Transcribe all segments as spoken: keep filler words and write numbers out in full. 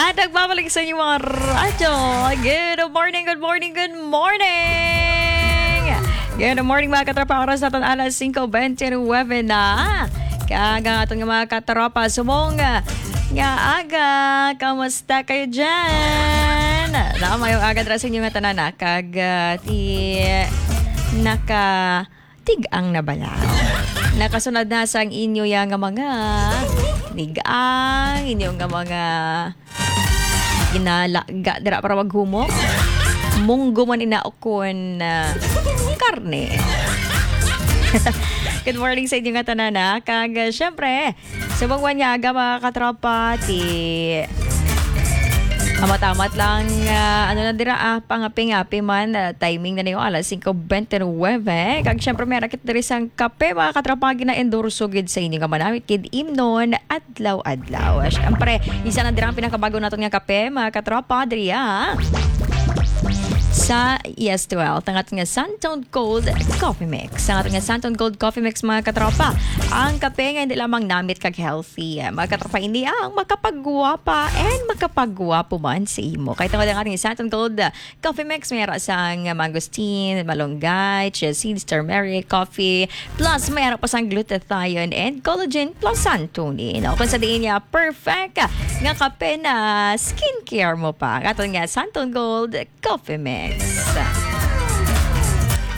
At nagbabalik sa inyong mga radyo. Good morning, good morning, good morning! Good morning, mga katropa. Oras natin alas singko bente nuwebe na. Kag ang aton nga mga katropa, subong nga aga, kamusta kayo dyan? Na, mayong aga dira sa inyo nga tanan, ah. Kag, ah, ti, naka, tig-ang na bala. Nakasunod na sang inyo ya nga mga tig-ang, inyo nga mga ginalaga dira para maghumok. Munggo man ina o kun, ah, karne. Good morning sa inyo nga tanan, ah. Kag, ah, syempre, sa bangwan nga aga, mga katropa, ti amat-amat lang, ah, ano na dira, ah, pangapi-ngapi man, ah, timing na niyo, alas singko bente nuwebe. Kag syempre, may rakit diri sang kape, mga katropa, nga gina-endorso gid sa inyo nga manamit gid imnon adlaw-adlaw. Syempre, isa na dira ang pinakabago naton nga kape, mga katropa, diri, ah, sa Yes to Health, ang aton nga Santon Gold Coffee Mix. Ang aton nga Santon Gold Coffee Mix, mga katropa, ang kape nga hindi lamang namit kag healthy. Mga katropa, ini ang makapagwapa and makapagwapo man sa imo. Kay tungod ang ating Santon Gold, ah, Coffee Mix, may ara sang mangosteen, malunggay, chia seeds, turmeric, coffee, plus may ara pa sang glutathione and collagen plus santonin. O, kung sa diin niya, perfect nga kape na skincare mo pa. Ang aton nga Santon Gold Coffee Mix.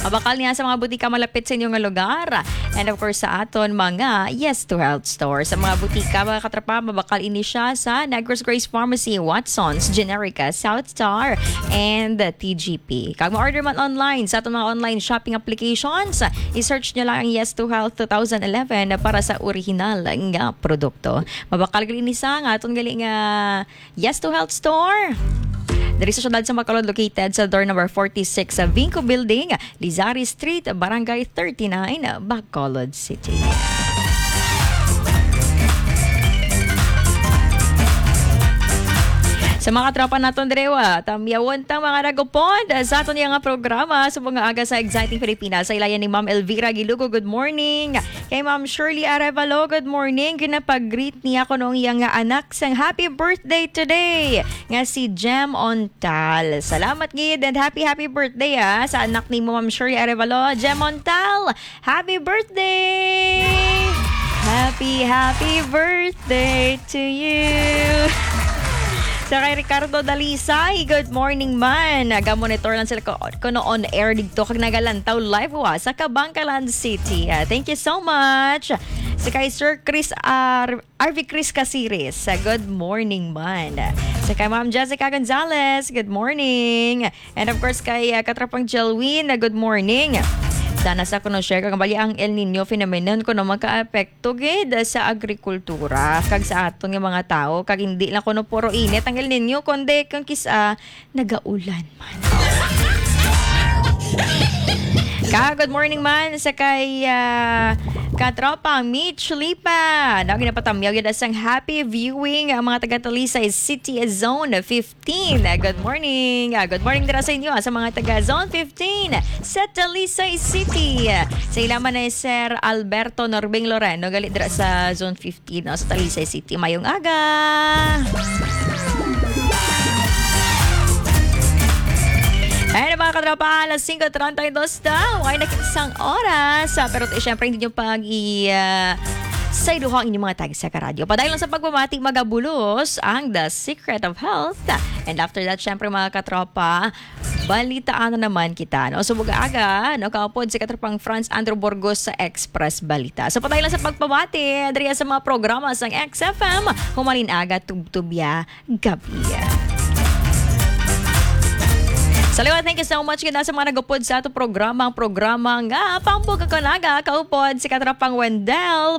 Mabakal niya sa mga butika malapit sa inyong lugar. And of course, sa aton mga Yes to Health store. Sa mga butika, mga katropa, mabakal ini siya sa Negros Grace Pharmacy, Watson's, Generica, South Star, and T G P. Kag ma-order man online sa aton mga online shopping applications, i-search nyo lang ang Yes to Health two thousand eleven para sa original nga produkto. Mabakal gali ni sa nga aton gali nga Yes to Health Store. Diri sa siyudad sa Bacolod, located sa door number forty-six sa Vinco Building, Lizari Street, Barangay thirty-nine, Bacolod City. Sa mga tropa naton diri, wa, tamyawon tang mga nagupod sa aton nga programa sa mga aga sa Exciting Pilipinas. Sa ilayan ni Ma'am Elvira Gilugo, good morning. Kay Ma'am Shirley Arevalo, good morning. Ginapag-greet niya kuno ang iya nga anak sang happy birthday today, nga si Jem Ontal. Salamat gid and happy, happy birthday, ah, sa anak ni Ma'am Shirley Arevalo. Jem Ontal, happy birthday! Happy, happy birthday to you! Sa kay Ricardo Dalisay, good morning man. Naga-monitor lang sila ko, kuno on air dito kag nagalantaw live wa sa Kabankalan City. Ah, thank you so much. Sa kay Sir Chris R-, R V Chris Casiris, ah, good morning man. Sa kay Ma'am Jessica Gonzalez, good morning. And of course, kay, ah, Katrapang Jelwin, ah, good morning. Sana sa kuno share kag bali ang El Nino phenomenon kuno makaapekto gid sa agrikultura kag sa aton nga mga tawo, kag hindi lang kuno puro init ang El Nino, kundi kung kis-a nagaulan man. Ka, good morning man sa kay, ah, Katropa Mitch Lipa. Na ginapatamyaw yun sang happy viewing ang mga taga Talisay City Zone fifteen. Good morning. Ah, good morning dira sa inyo, ah, sa mga taga Zone fifteen sa Talisay City. Sa ilaman ni Sir Alberto Norbing Loreno, gali dira sa Zone fifteen, no, sa Talisay City. Mayong aga. Ayan, mga katropa, alas singko treinta y dos na. Way nakit sang oras. Ah, pero, eh, syempre, hindi nyo pag i-, ah, sayduha ang inyong mga tag sa karadyo. Padayon lang sa pagpamati, magabulos ang The Secret of Health. And after that, syempre, mga katropa, balitaan na naman kita, no? Subong aga, no? Kaupod si katropang Franz Andrew Burgos sa Express Balita. So, padayon lang sa pagpamati, diri sa mga programa sang X F M, humalin aga, tubtubya, gabi. Salamat, thank you so much gid sa mga nagupod sa ato programa, ang programa nga Pambog Ako Naga, kaupod si katropang Wendell